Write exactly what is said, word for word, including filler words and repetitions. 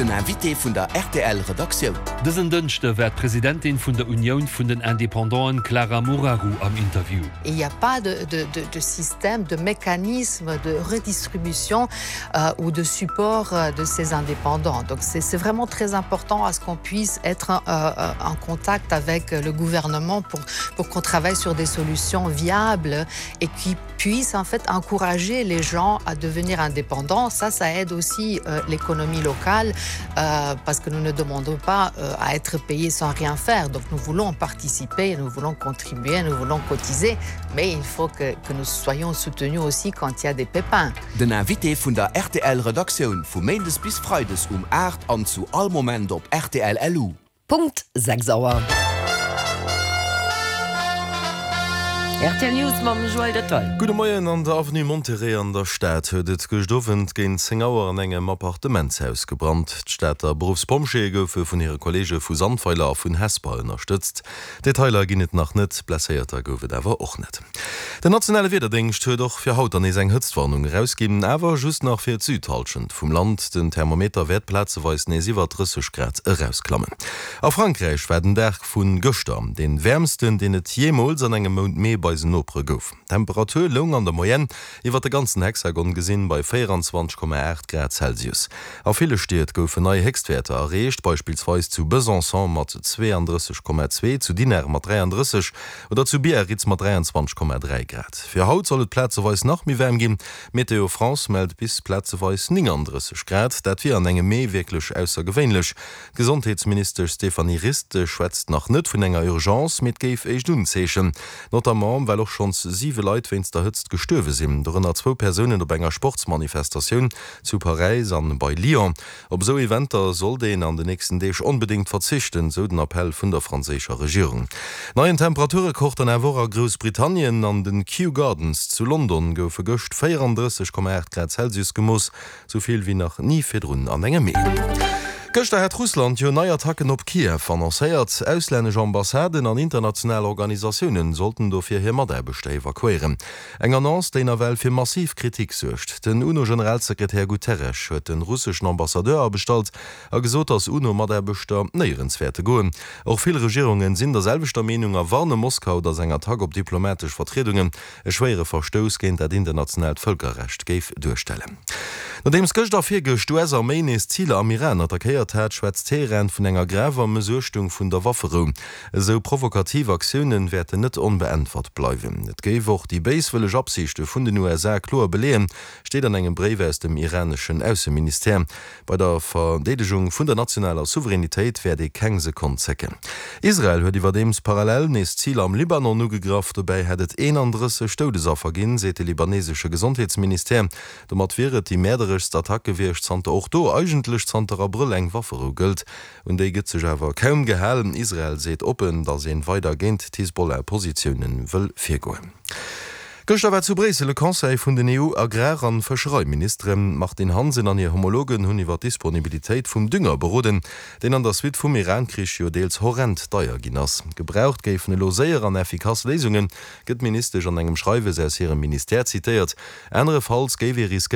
Den Invité vun der R T L Redaktioun. Dësen Dënschde war d'Presidentin vun der Unioun vun den Independanten Clara Moraru am Interview. Il n'y a pas de, de, de, de système, de mécanisme de redistribution euh, ou de support euh, de ces indépendants. Donc c'est vraiment très important à ce qu'on puisse être euh, euh, en contact avec le gouvernement pour, pour qu'on travaille sur des solutions viables et qui puissent en fait encourager les gens à devenir indépendants. Ça, ça aide aussi euh, l'économie locale euh, parce que nous ne demandons pas euh, à être payés sans rien faire. Donc nous voulons participer, nous voulons contribuer, nous voulons cotiser, mais il faut que, que nous soyons soutenus aussi quand il y a des pépins. Den Invité vun der R T L Redaktioun vu Méindes bis Freides um aacht an zu all Moment op R T L L U. Punkt sechs Auer. R T L News mam Joël Detail. Gudde Moien. An der Avenue Monterey an der Stad huet et gëscht Owend géint zéng Auer an engem Appartementshaus gebrannt. D'Stater Beruffspompjeeë goufe vun hire Kolleege vu Sandweiler a vun Hesper ënnerstëtzt. Detailer ginn et nach net, Blesséierter gouf et awer och net. Den nationale Wiederdéngscht huet och fir haut nees eng Hëtztwarnung erausginn, awer just nach fir d'Südhallschent vum Land. Den Thermometer wäert plazeweis nees iwwer drësseg Grad erausklammen. A Frankräich war den Dag vu gëschter dee wäermsten, deen et jeemools an engem Mount Mee bei eisen Nopere gouf. D'Temperatur loung an der Moyenne iwwer de ganzen Hexagon gesinn bei véierenzwanzeg Komma aacht Grad Celsius. A ville Stied goufen nei Héchstwäerter erreecht, beispillsweis zu Besançon mat zweeandrësseg Komma zwee, zu Dinard mat dräiandrësseg oder zu Biarritz mat dräianzwanzeg Komma dräi Grad. Fir haut soll et plazeweis nach méi waarm ginn, Météo France mellt bis plazeweis néngandrësseg Grad, dat wier an engem Mee wierklech aussergewéinlech. D'Gesondheetsministesch Stéphanie Rist schwätzt nach net vun enger Urgence, mee et géif éischt Unzeechen, notamment well och schonns siwe Leit wéinst der Hëtzt gestuerwe sinn, dorënner zwou Persounen op enger Sportsmanifestatioun zu Paräis an bei Lyon. Op esou Eventer sollt een an den nächsten Deeg onbedéngt verzichten, sou den Appell vun der franséischer Regierung. Neien Temperaturrekord dann awer och a Groussbritannien. An den Kew Gardens zu London goufe gëscht véierandrësseg Komma aacht Grad Celsius gemooss, sou vill wéi nach ni virdrun an engem Mee. Gëschter hat Russland jo nei Attacken op Kiew annoncéiert. Auslännesch Ambassaden an international Organisatiounen sollten dofir hir Mataarbechter evakuéieren. Eng Annonce, déi nawell fir massiv Kritik suergt. Den UNO-Generalsekretär Guterres huet de russeschen Ambassadeur abestallt a gesot, datt UNO-Mataarbechter néierens wäerte goen. Och vill Regierungen sinn der selwechter Meenung a warne Moskau, datt eng Attack op diplomatesch Vertriedungen e schwéiere Verstouss géint dat internationaalt Vëlkerrecht géif duerstellen. Nodeems gëscht a virgëscht d'U S-Arméi nees Ziler am Iran attackéiert hat, schwätzt Teheran vun enger graver Mëssuechtung vun der Wafferou. Esou provokativ Aktioune wäerten net onbeäntwert bleiwen. Et géif och déi béiswëlleg Absichte vun den U S A kloer beleeën, steet an engem Bréif aus dem iraneschen Ausseministère. Bei der Verdeedegung vun der nationaler Souveränitéit wäert ee keng Sekonn zécken. Israel huet iwwerdeems parallel nees Ziler am Libanon ugegraff. Dobäi hätt et eenandrësseg Doudesaffer ginn, seet de libanesesche Gesondheetsministère. Domat wier et déi mäerdereschst Attack gewiescht, zanter och do eigentlech zanter Abrëll eng Wafferou gëllt. Un déi gëtt sech awer kaum gehalen. Israel seet oppen, datt ee weider géint d'Hisbollah-Positioune wëll virgoen. Gëschter war zu Bréissel e Conseil vun den E U-Agrar an Fëschereiministeren. D'Martine Hansen an hir Homologen hunn iwwer d'Disponibilitéit vum Dünger beroden, deen an der Suite vum Iran-Krich jo deels horrend deier ginn ass. Gebraucht géifen elo séier an effikass Léisungen, gëtt d'Ministesch an engem Schreiwes aus hirem Ministère zitéiert. Anerefalls géif ee riskéieren,